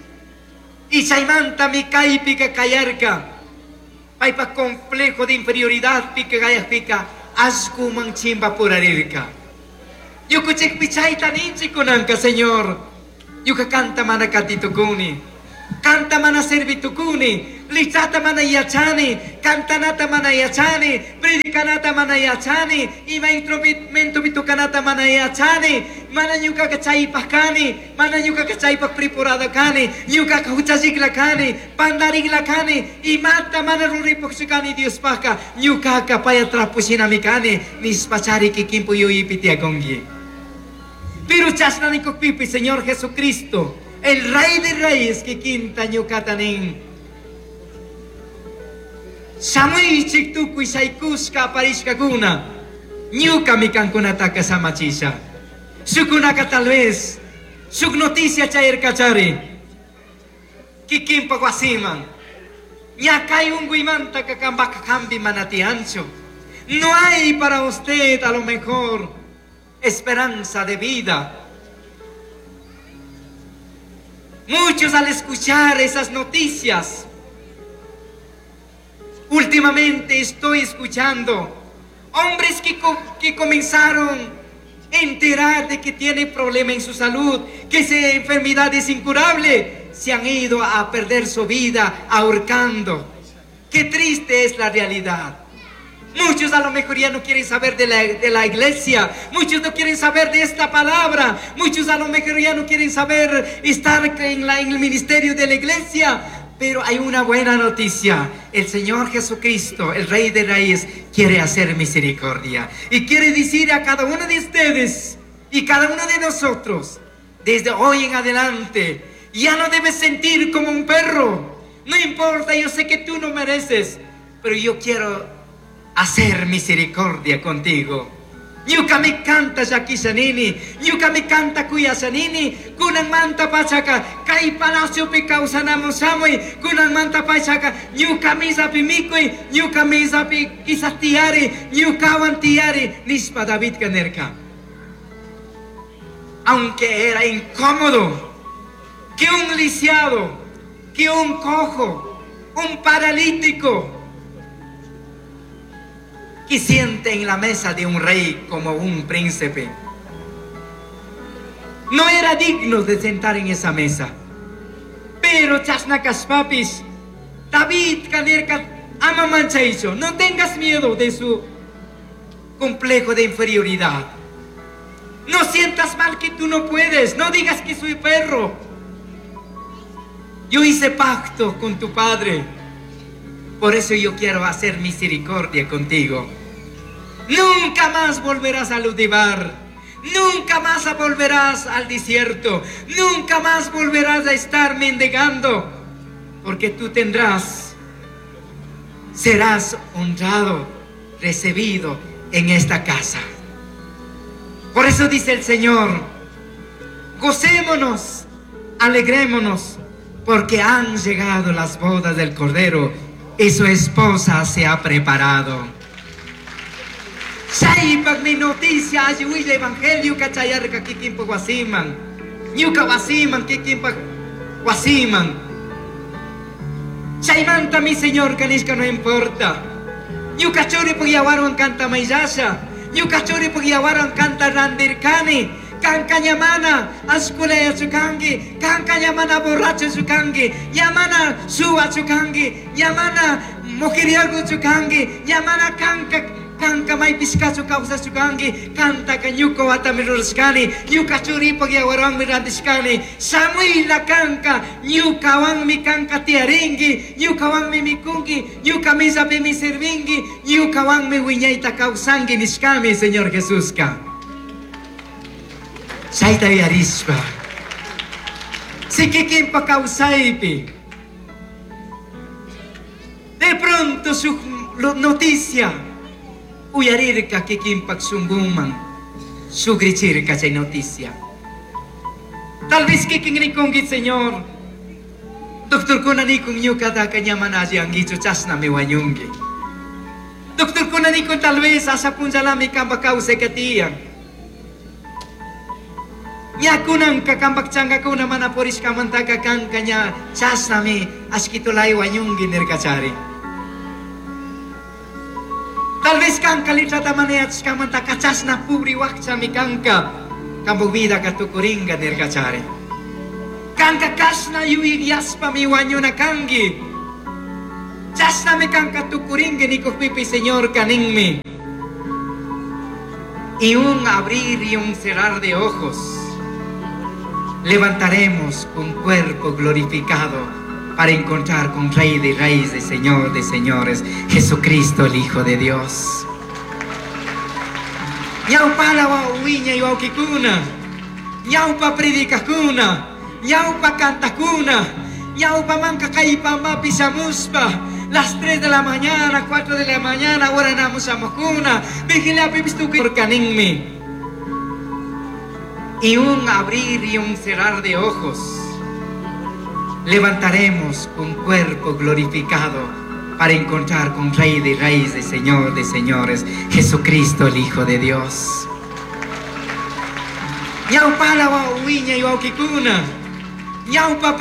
Y chaymanta mi kaypika kayarka. Paypa complejo de inferioridad pica gayajpika. Allkuman chimpapurarirka. Ñukanchikpi chayta ninchik kunanka, Señor. Ñuka kanta mana katitukuni. Kanta mana servitukuni. Lichata mana yachani. Cantanata mana yachani. Predicanata mana yachani. Ima instrumento tocanata mana yachani. Mana ñukaka chaypaj kani. Mana ñukaka chaypaj preparado kani. Ñukaka huchallikla kani. Pandarikla kani. Imata mana ruripukchu kani Diospajka. Ñukaka paya trapo shinami kani. Nishpachari kikinpu yuyaypi tiyakunki. Pero chashna nikukpipi, Señor Jesucristo, el Rey de Reyes kikinta ñukata nin. Shamuychik tukuy shaykushka aparishkakuna. Ñukami kankunataka samachisha. Shukunaka tal vez, shuk noticia chayarkachari. Kikinpa wasiman. Ña kay unkuymanta kampaka hampi mana tiyanchu. No hay para usted a lo mejor esperanza de vida. Muchos al escuchar esas noticias, últimamente estoy escuchando hombres que, co-, que comenzaron a enterar de que tienen problema en su salud, que esa enfermedad es incurable, se han ido a perder su vida ahorcando. Qué triste es la realidad. Muchos a lo mejor ya no quieren saber de la, de la iglesia. Muchos no quieren saber de esta palabra. Muchos a lo mejor ya no quieren saber estar en, la, en el ministerio de la iglesia. Pero hay una buena noticia. El Señor Jesucristo, el Rey de Reyes, quiere hacer misericordia. Y quiere decir a cada uno de ustedes y cada uno de nosotros, desde hoy en adelante, ya no debes sentir como un perro. No importa, yo sé que tú no mereces, pero yo quiero hacer misericordia contigo. Ñukami kanta llakishanini, ñukami kanta kuyashanini, kunanmanta pachaka, kay palaciopi kawsanamun shamuy, kunanmanta pachaka, ñuka misapi mikuy, ñuka misapi quizás tiyari, ñukawan tiyari, nishpa Davidka nirka. Aunque era incómodo que un lisiado, que un cojo, un paralítico, que siente en la mesa de un rey como un príncipe, no era digno de sentar en esa mesa. Pero chashna kashpapis, David kanirka ama manchaicho, no tengas miedo de su complejo de inferioridad. No sientas mal que tú no puedes, no digas que soy perro. Yo hice pacto con tu padre, por eso yo quiero hacer misericordia contigo. Nunca más volverás a Ludibar, nunca más volverás al desierto, nunca más volverás a estar mendigando, porque tú tendrás, serás honrado, recibido en esta casa. Por eso dice el Señor, gocémonos, alegrémonos, porque han llegado las bodas del Cordero y su esposa se ha preparado. Chaypak mi noticia, alli huilla evangelio kachayarka kikinpak wasiman. Ñuka wasiman, kikinpak wasiman. Chaymanta mi Señor kanishka no importa. Ñuka churipuk yawarwan kanta mayllasha. Ñuka churipuk yawarwan kanta randirkani. Kanka ñamana ashkulaya chukanki, kanka ñamana borracho chukanki, ñamana suwa chukanki, ñamana mujeriego chukanki, ñamana kanka kanka maypishkachu kawsachukanki, kantaka ñuka watami rurashkani, ñuka churipak yawarwanmi rantishkani, shamuyla kanka, ñukawanmi kanka tiyarinki, ñukawanmi mikunki, ñuka misapimi sirvinki, ñukawanmi wiñayta kawsanki nishkami, Señor Jesuska. Chayta yuyarishpa, si kikinpa kawsaypi, de pronto su noticia uyarirka kikinpak shunkuman, sugrichirka chay noticia. Tal vez kikin rikunki, Señor, doctor kuna nikun ñukataka ña mana alli ankichu, chashnami wañunki. Doctor kuna nikun tal vez asha punllalami kampak kawsayka tiyan. Ña kunanka kampak chankakuna mana purishkamantaka kanka ña chashnami ashkitulay wañunki nirkachari. Tal vez kanka letrata mana yachashkamantaka chashna pubri wakchami kanka. Kampak vidaka tukuringa nirkachari. Kanka kashna yuyashpami wañuna kanki. Chashnami kanka tukuringi nikukpipi Señorka ninmi. Y un abrir y un cerrar de ojos, levantaremos un cuerpo glorificado para encontrar con Rey de Reyes y Señor de Señores, Jesucristo el Hijo de Dios. Ñawpala wiñay wawkikuna, ñawpa predicakuna, ñawpa cantakuna, ñawpa manka kaypamapi shamushpa, las tres de la mañana, cuatro de la mañana, oranamos shamukuna, vigiliapipish tukuy ninmi. Y un abrir y un cerrar de ojos, levantaremos un cuerpo glorificado para encontrar con Rey de Reyes y Señor de Señores, Jesucristo el Hijo de Dios. Ñawpala wiñay wawkikuna, ñawpa